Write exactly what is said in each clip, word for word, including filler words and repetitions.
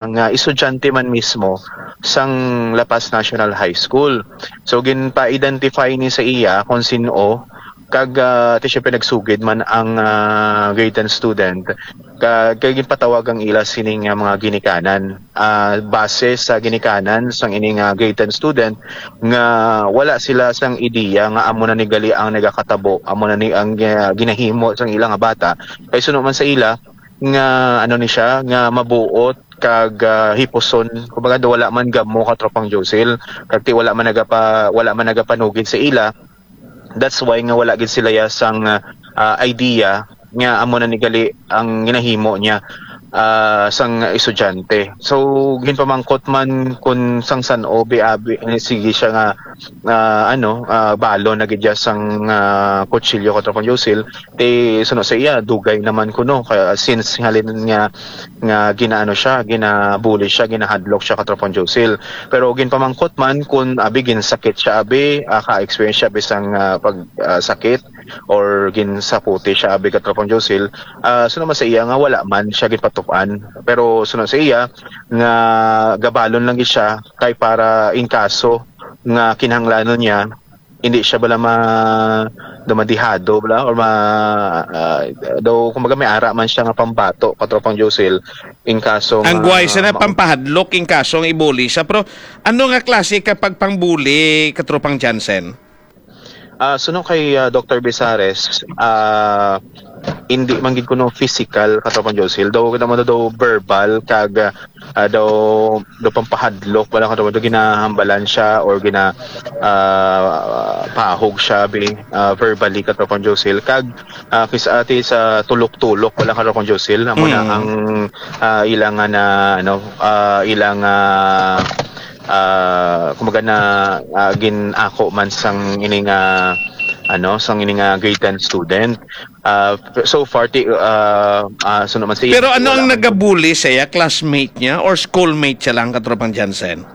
nga estudyante man mismo sang La Paz National High School. So, ginpa-identify ni sa iya kung sin-o, kag, ah, ti siyempre nagsugid man ang, ah, grade ten student, ka-, kag ginpatawag ang ila sining, ah, mga ginikanan. Ah, base sa ginikanan sang ini nga grade ten student nga wala sila sang ideya nga amo na ni gali ang nagakatabo, amo na ni ang, ah, ginahimo sang ila nga bata. Kay suno man sa ila nga ano ni siya, nga mabuot kag, ah, hipuson. Kumbaga, do wala man gamo, Katropang Josil, kag ti wala man nagapa-, wala man nagapanugid sa ila. That's why nga wala gid sila ya sang, ah, idea nga amo na ni gali ang ginahimo niya, ah, sang estudyante. So, ginpamangkot man kun sang san-o bi-, abi, eh, sige siya nga, ah, ano, ah, balon na gid siya sang, ah, kutsilyo, Katropang Josil. Ti suno sa iya, dugay naman kuno, kaya since halin nga, nga ginaano siya, ginabuli siya, ginahadlok siya, Katropang Josil. Pero ginpamangkot man kung abi ginsakit siya, abi, ah, ka-experience siya bisang, ah, pag, ah, sakit or ginsaputi siya, abi, Katropang Josil. Ah, suno man sa iya nga wala man siya ginpatupan. Pero suno sa iya nga gabalon lang gid siya kay para in kaso nga kinahanglanon niya, hindi siya bala ma-, daw madihado bala or ma-, ah, daw, kumbaga, may ara man siya nga pambato, Katropang Josil, in kaso Ang nga guway siya na ma- pampahadlok in kaso nga ibuli siya. Pero ano nga klase ka pagpangbuli, Katropang Jansen? Ah, suno kay, ah, Doktor Bisares, ah, hindi man gid kuno physical, Katropang Josil. Daw, kita mo daw verbal kag, ah, daw, daw pampahadlok, wala ka daw, daw ginahambalan siya or gina-, ah, pahog siya, bi-, ah, verbally, Katropang Josil. Kag, ah, kis-, ati sa tulok-tulok, wala, Katropang Josil. Amo na Mm. ang, ah, ila nga na, ano, ah, ila nga, ah, kumbaga na, ah, gin-ako man sang ini nga, ano, sang ini nga grade ten student. Ah, so far, ti-, ah, ah, suno man sa Pero ano wala ang man. nagabuli sa iya? Classmate niya or schoolmate siya lang, Katropang Jansen?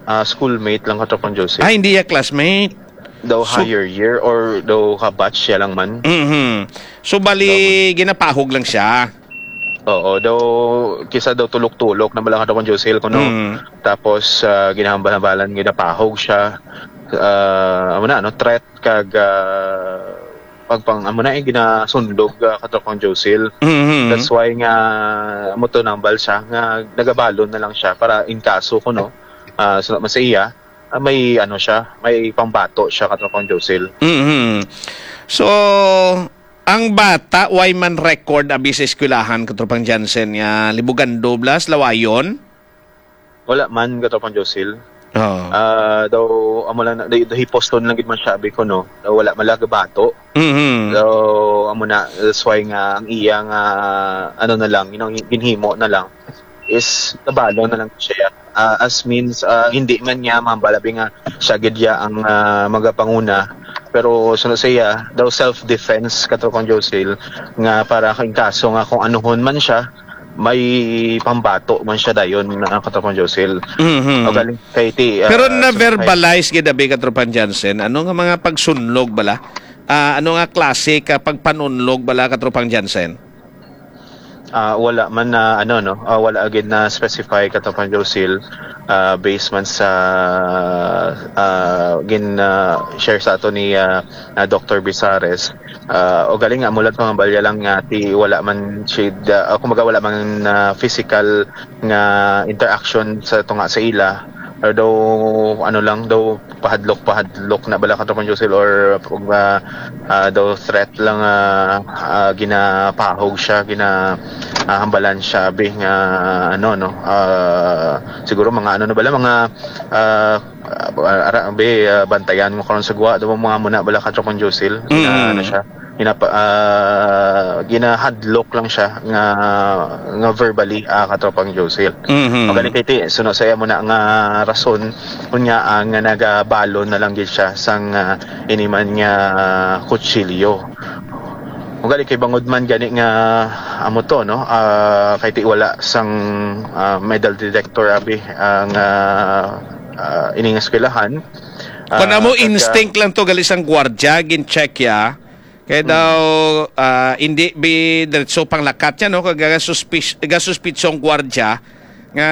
Ah, schoolmate lang, Katropang Josil. Ah, hindi ya classmate? Daw So higher year or daw ka-batch siya lang man. Mhm. So, bali, Daw ginapahog lang siya? Oo, daw, kisa daw tulok-tulok na bala, Katropang Josil, kuno. Mm. Tapos, ah, ginahambal-hambalan, ginapahog siya. Ah, amo na, ano, threat kag, ah, pagpang, amo na, eh, ginasundog, ah, Katropang Josil. Mhm. That's why nga, amo to, nambal siya, nga nagabalon na lang siya para in kaso kuno, ah, sa, sa iya, ah, may, ano siya, may pambato siya, Katropang Josil. Mhm. So, ang bata, way man record abi sa eskwelahan, Katropang Jansen, nga libugando bala sa lawayon? Wala man, Katropang Josil. Oo. Ah, daw, amo lang na, daw, daw hiposton lang gid man siya, abi ko, no? Daw wala man lang gabato. Mhm. Daw, amo na, that's why nga ang iya nga, ano na lang, you know, ginhimo na lang is nabalo na lang siya. Ah, as means, ah, hindi man niya mambalabi nga siya gid ya ang, ah, magapanguna. Pero suno sa iya, daw self-defense, Katropang Josil, nga para kay kaso nga kung anuhon man siya, may pambato man siya dayon, ah, Katropang Josil. Mhm. O galing kay ti-, ah, Pero suno kay na-verbalize gid abi, Katropang Jansen, ano nga mga pagsunlog bala? Ah, ano nga klase ka pagpanunlog bala, Katropang Jansen? Ah, wala man na, ano, no, ah, wala gid na specify, Katropang Josil, ah, based man sa, ah, gin, ah, share sa ato ni, ah, ah, Doktor Bisares. Ah, o galing nga, mulat mga balya lang nga ti wala man siya, ah, kumbaga wala man, ah, physical nga interaction sa tunga sa ila. Pero daw, ano lang, daw pahadlok-pahadlok na bala, Katropang Josil, or, ah, ah, daw threat lang, ah, ah, ginapahog siya, gina, ah, hambalan siya, bi, nga, ano, no, ah, siguro mga, ano na bala, mga, ah, ah, ara, bi, ah, bantayan mo karon sa gwa, daw mga muna bala, Katropang Josil, gina, Mm. ano siya, ginapa-, ah, ginahadlok lang siya nga, nga verbally, ah, Katropang Josil. Mhm. O gani kay ti, suno sa iya mo na nga rason, unya, ah, nga nagabalon na lang gid siya sang, ah, iniman nga, ah, kutsilyo. O gani kay bangod man gani nga amo to, no? Ah, kay ti wala sang, ah, metal detector abi ang, ah, ah, ining eskwelahan. Kung Ah, amo kag, ah, instinct lang to, gali sang gwardya, gin-check ya. Kaya Mm. daw, ah, hindi bi diretso panglakat yan, no? Kag gasuspis-, gasuspitsong gwardya, Nga